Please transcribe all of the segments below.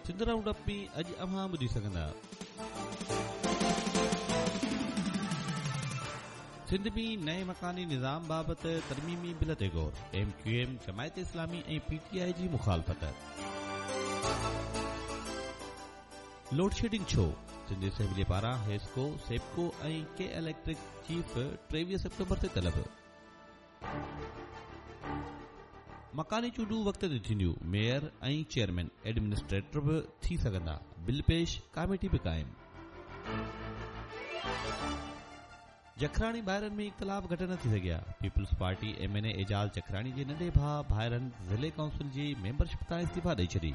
Sindh round up ۾ اڄ اوهان ٻڌي سگهندا. سنڌ ۾ نئين مڪاني نظام بابت ترميمي بل تي غور، M Q M, Jamaat Islami ۽ P T I جي مخالفت. لوڊشيڊنگ ڇو؟ سنڌ اسيمبلي پاران حيسڪو، سيپڪو ۽ ڪي اليڪٽرڪ چيف 23 سيپٽمبر تي طلب. مڪاني چونڊون وقت تي ٿينديون، ميئر ۽ چيئرمين ايڊمنسٽريٽر به ٿي سگهندا، بل پيش، ڪاميٽي به قائم. جکراڻي ڀائرن ۾ اختلاف گهٽ نه ٿي سگهيا، Peoples Party M N A Ejaz Jakhrani جي ننڍي ڀاء ڀائرن ضلعي ڪائونسل جي ميمبرشپ تان استعيفا ڏئي ڇڏي.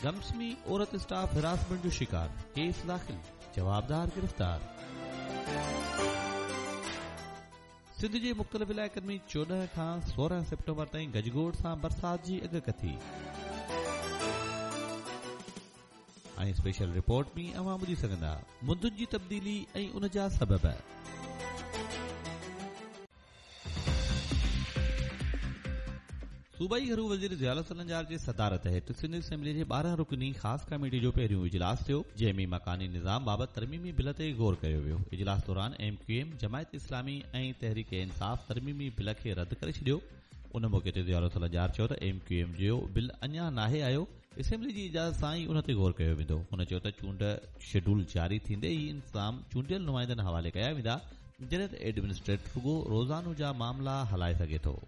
گمس ۾ عورت اسٽاف هراسمينٽ جو شڪار، ڪيس داخل، جوابدار گرفتار. سنڌ جي مختلف علائقن ۾ 14 کان 16 سيپٽمبر تائين گجگوڙ سان برسات جي اڳڪٿي. ۽ اسپيشل رپورٽ ۾ اوهان ٻڌي سگهندا مندن جي تبديلي ۽ ان جا سبب. صوبائي گهرو وزير ضياء الحسن لنجار جي صدارت هيٺ سنڌ اسيمبلي جي 12 رڪني خاص ڪميٽي جو پهريون اجلاس ٿيو، جنهن ۾ مڪاني نظام بابت ترميمي بل تي غور ڪيو ويو. اجلاس دوران M Q M, Jamaat Islami ۽ Tehreek Insaf ترميمي بل کي رد ڪري ڇڏيو. ان موقعي تي ضياء الحسن لنجار چيو ته ايم ڪيو ايم جو بل اڃا ناهي آيو، اسيمبلي جي اجازت سان ئي ان تي غور ڪيو ويندو. هن چيو ته چونڊ شيڊول جاري ٿيندي ئي انتظام چونڊيل نمائندن حوالي ڪيا ويندا، جڏهن ته ايڊمنسٽريٽر رڳو روزانو جا معاملا هلائي سگهي ٿو.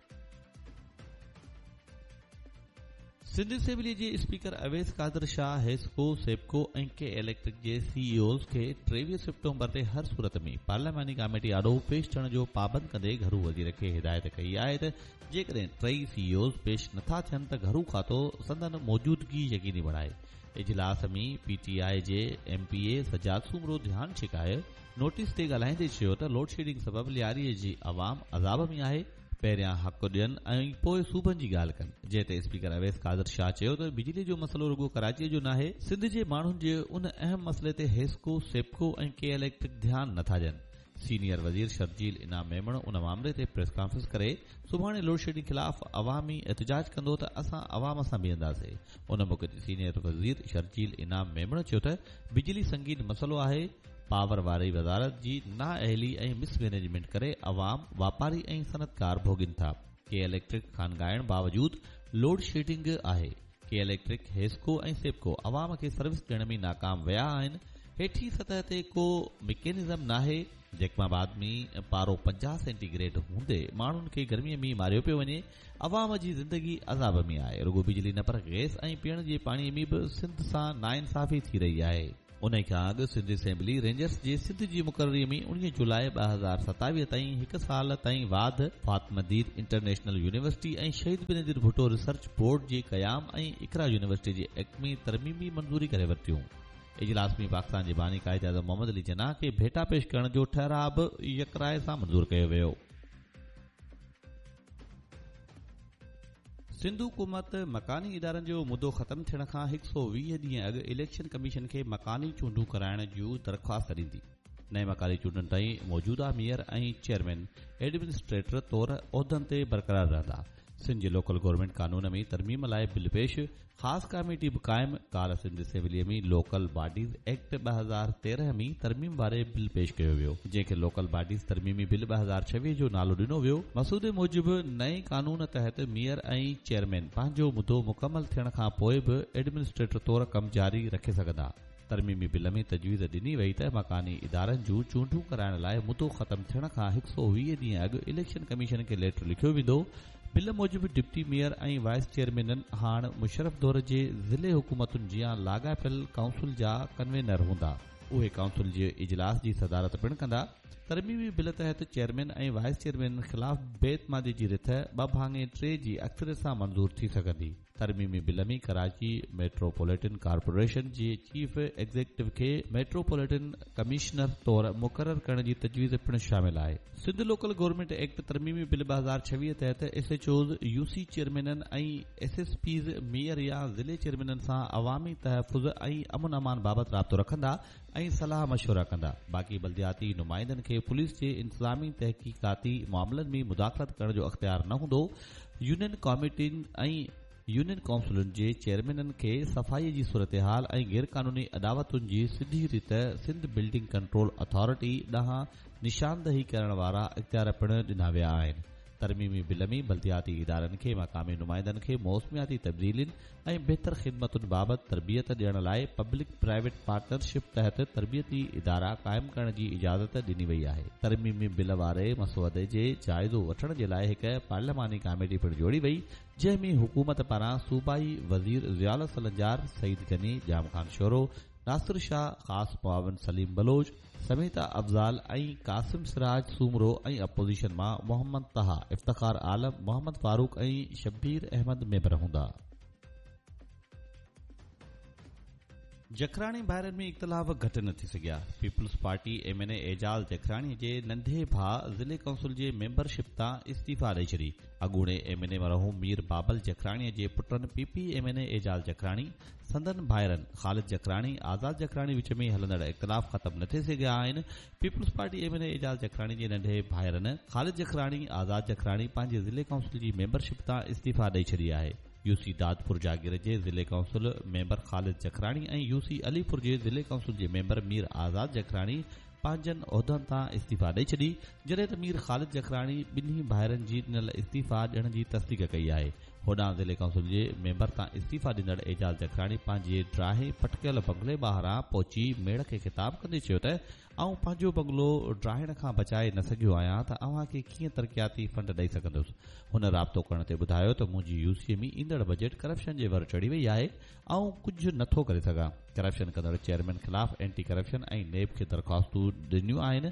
سنڌ اسيمبلي جي اسپيڪر اويس قادر شاهه حيسڪو، سيپڪو ۽ ڪي اليڪٽرڪ جي سي اي اوز کي 23 سيپٽمبر تي هر صورت ۾ پارلياماني ڪاميٽي آڏو پيش ٿيڻ جو پابند ڪندي گهرو وزير کي هدايت ڪئي آهي ته جيڪڏهن ٽئي سي اي اوز پيش نٿا ٿين ته گهرو کاتو سندن موجودگي يقيني بڻائي. اجلاس ۾ پي ٽي آء جي M P A Sajjad Soomro ڌيان ڇڪائي نوٽيس تي ڳالهائيندي چيو ته لوڊشيڊنگ سبب لياري جي عوام عذاب ۾ آهي، پهريان حق ڏين ۽ پوء صوبن جي ڳالهه ڪن، جنهن تي اسپيڪر اويس قادر شاهه چيو ته بجلي جو مسئلو رڳو ڪراچي جو ناهي، سنڌ جي ماڻهن جي ان اهم مسئلي تي حيسڪو، سيپڪو ۽ ڪي اليڪٽرڪ ڌيان نٿا ڏين. سينيئر وزير شرجيل انعام ميمڻ ان مامري تي پريس ڪانفرنس ڪري سڀاڻي لوڊشيڊنگ خلاف عوامي احتجاج ڪندو ته اسان عوام سان بيهنداسين. ان موقعي تي سينيئر وزير شرجيل انعام ميمڻ چيو ته بجلي سنگين مسئلو آهي، پاور واري وزارت جي نااهلي ۽ مس مئنيجمينٽ ڪري عوام، واپاري ۽ صنعتڪار ڀوڳين ٿا. ڪي اليڪٽرڪ خانگائڻ باوجود لوڊشيڊنگ آهي. ڪي اليڪٽرڪ، حيسڪو ۽ سيپڪو عوام کي سروس ڏيڻ ۾ ناڪام ويا آهن، هيٺين سطح تي ڪو مڪينزم ناهي، جيڪب آباد ۾ پارو 50 سينٽي گريڊ هوندي ماڻهن کي گرمي ۾ ماريو پيو وڃي، عوام جي زندگي عذاب ۾ آهي، رڳو بجلي نه پر گئس ۽ پيئڻ جي پاڻي ۾ به سنڌ سان ناانصافي ٿي رهي آهي. انهي کان اڳ سنڌ اسيمبلي رينجرز جي سنڌ جي مقرري ۾ 19 جولاء 2027 تائين هڪ سال تائين واڌ، Fatima Dheer international university ۽ Shaheed Benazir Bhutto research board جي قيام ۽ اقرا يونيورسٽي جي ايڪٽ ۾ ترميمي منظوري ڪري ورتيون. اجلاس ۾ پاڪستان جي باني قائداعظم محمد علي جناح کي ڀيٽا پيش ڪرڻ جو ٺهراء به يڪراء سان منظور ڪيو ويو. سنڌ حڪومت مڪاني ادارن جو مدو ختم ٿيڻ کان 120 ڏينهن اڳ اليڪشن ڪميشن کي مڪاني چونڊون ڪرائڻ جون درخواست ڏيندي. نئين مڪاني چونڊن تائين موجوده ميئر ۽ چيئرمين ايڊمنسٽريٽر طور عهدن تي برقرار رهندا. سنڌ جي لوڪل گورنمينٽ قانون ۾ ترميم لاء بل پيش، خاص ڪاميٽي به قائم، ڪالهه سنڌ اسيمبليء ۾ لوڪل باڊيز ايڪٽ 2013 ۾ ترميم واري بل پيش ڪيو ويو، جنهن کي لوڪل باڊيز ترميمي بل 2026 جو نالو ڏنو ويو، مسودي موجب نئين قانون تحت ميئر ۽ چيئرمين پنهنجو مدو مڪمل ٿيڻ کان پوء به ايڊمنسٽريٽر طور ڪم جاري رکي سگهندا. ترميمي بل ۾ تجويز ڏني وئي ته مڪاني ادارن جون چونڊون ڪرائڻ لاء مدو ختم ٿيڻ کان 120 ڏينهن اڳ اليڪشن ڪميشن کي ليٽر لکيو ويندو. بل موجب ڊپٽي ميئر ۽ وائيس چيئرمينن هاڻ مشرف دور جي ضلعي حڪومتن جيان لاڳاپيل ڪائونسل جا ڪنوينر هوندا. اهي ڪائونسل جي اجلاس جي صدارت پڻ ڪندا. ترميمي بل تحت چيئرمين ۽ وائيس چيئرمينن خلاف بي اعتمادي جي رٿ ٻه ڀاڱي ٽي جي اڪثريت سان منظور ٿي سگهندي. ترميمي بل ۾ ڪراچي ميٽروپوليٽن ڪارپوريشن جي چيف ايگزيڪٽو کي ميٽروپوليٽن ڪمشنر طور مقرر ڪرڻ جي تجويز پڻ شامل آهي. سنڌ لوڪل گورنمينٽ ايڪٽ ترميمي بل 2026 تحت S H Os, U C چيئرمينن ۽ S S Ps mayor يا ضلعي چيئرمينن سان عوامي تحفظ ۽ امن امان بابت رابطو رکندا ۽ صلاح مشورا ڪندا، باقي بلدياتي نمائندن کي پوليس جي انتظامي تحقيقاتي معاملن ۾ مداخلت ڪرڻ جو اختيار نه هوندو، يونين ڪاميٽين ۽ يونين ڪائونسلن جي چيئرمينن کي صفائي جي صورتحال ۽ غيرقانوني اڏاوتن جي سڌي ريت سنڌ بلڊنگ ڪنٽرول اٿارٽي ڏانهن نشاندهي ڪرڻ وارا اختيار پڻ ڏنا ويا آهن. ترميمي بل ۾ بلدياتي ادارن کي مقامي نمائندن کي موسمياتي تبديلين ۽ بهتر خدمتن بابت تربيت ڏيڻ لاء پبلڪ پرائيويٽ پارٽنرشپ تحت تربيتي ادارا قائم ڪرڻ جي اجازت ڏني وئي آهي. ترميمي بل واري مسودي جي جائزو وٺڻ جي لاء هڪ پارلياماني ڪاميٽي پڻ جوڙي وئي، جنهن ۾ حڪومت پاران صوبائي وزير ضياء الحسن لنجار، سعيد غني، ڄام خان شورو، ناصر شاهه، خاص معاون سليم بلوچ، سميتا افضال ۽ قاسم سراج سومرو ۽ اپوزيشن مان محمد طه، افتخار عالم، محمد فاروق ۽ شبير احمد ميمبر هوندا. جکراڻي ڀائرن ۾ اختلاف گهٽ نه ٿي سگهيا. Peoples party M N A Ejaz Jakhrani جي ننڍي ڀاء ضلعي ڪائونسل جي ميمبر شپ تان استعيفيٰ ڏئي ڇڏي. اڳوڻي ايم اين اي مرحوم مير بابل جکراڻي جي پٽن P P M N A Ejaz Jakhrani سندن ڀائرن خالد جکراڻي آزاد جکراڻي وچ ۾ هلندڙ اختلاف ختم نه ٿي سگهيا آهن. Peoples party M N A Ejaz Jakhrani جي ننڍي ڀائرن خالد جکراڻي آزاد جکراڻي پنهنجي ضلعي ڪائونسل جي ميمبر شپ تان استعيفيٰ ڏئي ڇڏي آهي. يو سي دادپور جاگير جي ضلعي council member Khalid Jakhrani ۽ U C Alipur جي ضلعي ڪائونسل جي ميمبر مير آزاد جکراڻي پنهنجن عهدن تان استعيفيٰ ڏئي ڇڏي، جڏهن ته مير خالد جکراڻي ٻنهي ڀائرن جي ڏنل استعيفيٰ ڏيڻ جي تصديق ڪئي آهي. هوڏانهن ضلعي ڪائونسل جي ميمبر تان استعيفيٰ ڏيندڙ اعجاز جکراڻي پنهنجي ڊراهي پٽڪيل بنگلي ٻاهران پهچي ميڙ کي خطاب ڪندي چيو ته آئون پنهنجو بنگلو ڊاهڻ کان بچائي نه سگهيو آهيان ته اوهان کي ڪيئن ترقياتي فنڊ ڏئي سگهندس. هن رابطو ڪرڻ تي ٻڌايو ته منهنجي يو سي ۾ ايندڙ بجيٽ ڪرپشن جي ور چڙهي وئي آهي، آئون ڪجهه نه ٿو ڪري سگهان. ڪرپشن ڪندڙ چيئرمين خلاف اينٽي ڪرپشن ۽ نيب کي درخواستون ڏنيون آهن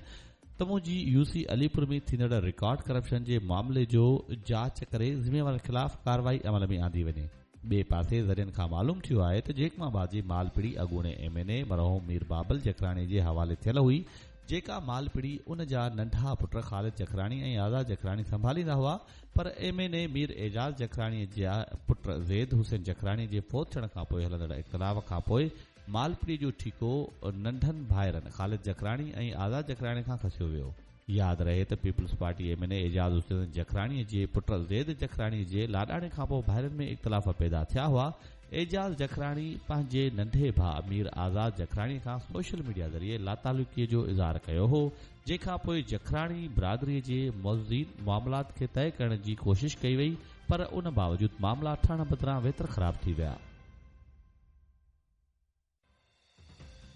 ته منهنجي يو سي علي پور ۾ ٿيندڙ رڪارڊ ڪرپشن جي معاملي جو جاچ ڪري ذميوارن خلاف ڪارروائي عمل ۾ آندي وڃي. ٻئي پاسي ذريعن کان معلوم ٿيو آهي ته جيڪب آباد جي مال پڙي اڳوڻي ايم اين اي مرحوم مير بابل جکراڻي جي حوالي ٿيل هئي، جيڪا مال پڙي ان جا ننڍا پٽ خالد جکراڻي ۽ آزاد جکراڻي سنڀاليندا هئا پر M N A Mir Ejaz Jakhrani جي پٽ زيد حسين جکراڻي جي فوت ٿيڻ کانپوء هلندڙ اختلاف کانپوء مال پڙي جو ٺيڪو ننڍن ڀائرن خالد جکراڻي ۽ آزاد جکراڻي کان کسيو ويو. ياد رهي ته peoples party M N A Ejaz Hussain Jakhrani جي پٽ زيد جکراڻي جي لاڏاڻي کانپوء ڀائرن ۾ اختلاف پيدا ٿيا هئا. اعجاز جکراڻي پنهنجي ننڍي ڀاء مير آزاد جکراڻي کان سوشل ميڊيا ذريعي لاتعلقي جو اظهار ڪيو هو، جنهن کانپوء جکراڻي برادري جي معززين معاملات کي طئي ڪرڻ جي ڪوشش ڪئي وئي پر ان باوجود معاملا ٺهڻ بدران ويتر خراب ٿي ويا.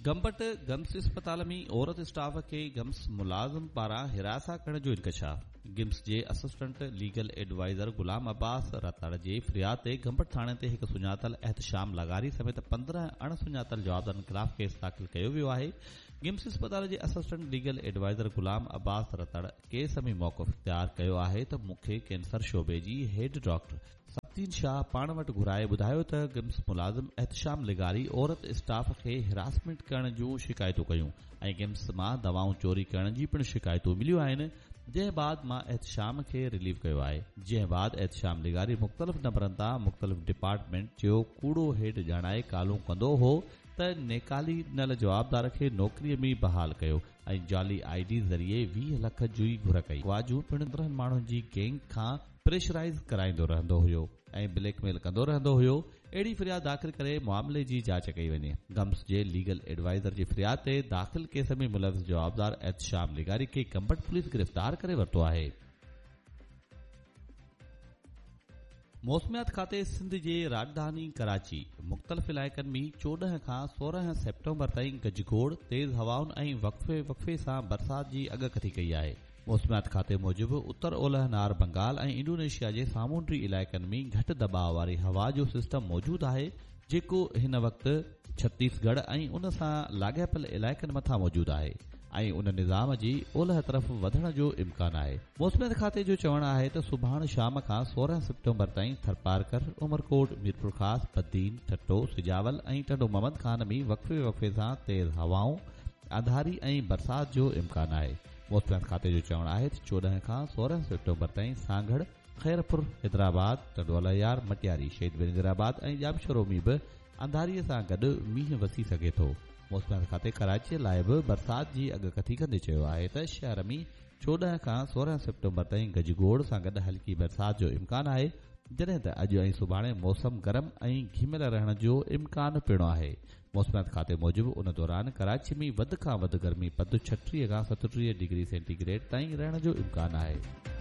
گمبٽ گمس اسپتال ۾ عورت اسٽاف کي گمس ملازم پاران هراسان ڪرڻ جو انڪشاف، گمس جي assistant legal adviser Ghulam Abbas Ratar جي فرياد تي گمبٽ ٿاڻي تي هڪ سڃاتل احتشام لغاري سميت 15 اڻ سڃاتل جوابدارن خلاف ڪيس داخل ڪيو ويو آهي، گمس اسپتال جي assistant legal adviser Ghulam Abbas Ratar case ۾ موقف اختيار ڪيو آهي ته مون کي ڪينسر شعبي جي هيڊ ڊاڪٽر سبطين شاهه پاڻ وٽ گهرائي ٻڌايو ته گمس ملازم احتشام لغاري عورت اسٽاف کي هراسمينٽ ڪرڻ جون شڪايتون ڪيون ۽ گمس مان دوائون چوري ڪرڻ جي پڻ شڪايتون مليون آهن جنهن بعد مان احتشام کي رليو ڪيو آهي جنهن بعد احتشام لغاري مختلف نمبرن تان مختلف ڊپارٽمينٽ جو ڪوڙو هيڊ ڄاڻائي ڪالون ڪندو هو ته نيڪالي ڏنل جوابدار کي نوڪري ۾ بحال ڪيو ۽ جعلي I D ذريعي 20 لک جي گهر ڪئي. اغوا جون پڻ 15 ماڻهن جي گينگ کان پريشرائيز ڪرائيندو رهندو هيو ۽ بليڪ ميل ڪندو رهندو هيو، اهڙي فرياد داخل ڪري معاملي جي جاچ ڪئي وڃي. گمس جي ليگل ايڊوائيزر جي فرياد تي داخل ڪيس ۾ ملوث جوابدار احتشام لغاري کي گمبٽ پوليس گرفتار ڪري ورتو آهي. موسميات کاتي سنڌ جي راڄڌاني ڪراچي، مختلف علائقن ۾ 14 کان 16 سيپٽمبر تائين گجگوڙ، تيز هوائن ۽ وقفي وقفي سان برسات جي اڳڪٿي ڪئي آهي. موسميات کاتي موجب اتر اولهه نار بنگال ۽ انڊونيشيا جي سامونڊي علائقن ۾ گهٽ دٻاء واري هوا جو سسٽم موجود آهي جيڪو هن وقت ڇتيس ڳڙهه ۽ ان سان لاڳاپيل علائقن مٿان موجود آهي ۽ ان نظام جي اولهه طرف وڌڻ جو امڪان آهي. موسميات کاتي جو چوڻ آهي ته سڀاڻ شام کان 16 سيپٽمبر تائين ٿرپارڪر، عمرڪوٽ، ميرپورخاص، بدين، ٺٽو، سجاول ۽ ٽنڊو محمد خان ۾ وقفي وقفي سان تيز هوائون، انڌاري ۽ برسات جو امڪان آهي. موسميات کاتي جو چوڻ آهي ته 14 کان 16 سيپٽمبر تائين سانگهڙ، خيرپور، حيدرآباد، ٽنڊوالهيار، مٽياري، شهيد بينظير آباد ۽ ڄامشورو ۾ به انڌاري سان گڏ مينهن وسي سگهي ٿو. موسميات کاتي ڪراچي لاء به برسات جي اڳڪٿي ڪندي چيو آهي ته شهر ۾ 14 کان 16 سيپٽمبر تائين گجگوڙ سان گڏ هلڪي برسات جو امڪان آهي. جڏهن ته اڄ ۽ سڀاڻي موسم گرم ۽ گهميل رهڻ جو امڪان پڻ آهي. موسميات کاتي موجب ان دوران ڪراچي ۾ وڌ کان وڌ گرمي پد 36 کان 37 ڊگري سينٽي گريڊ تائين رهڻ جو امڪان آهي.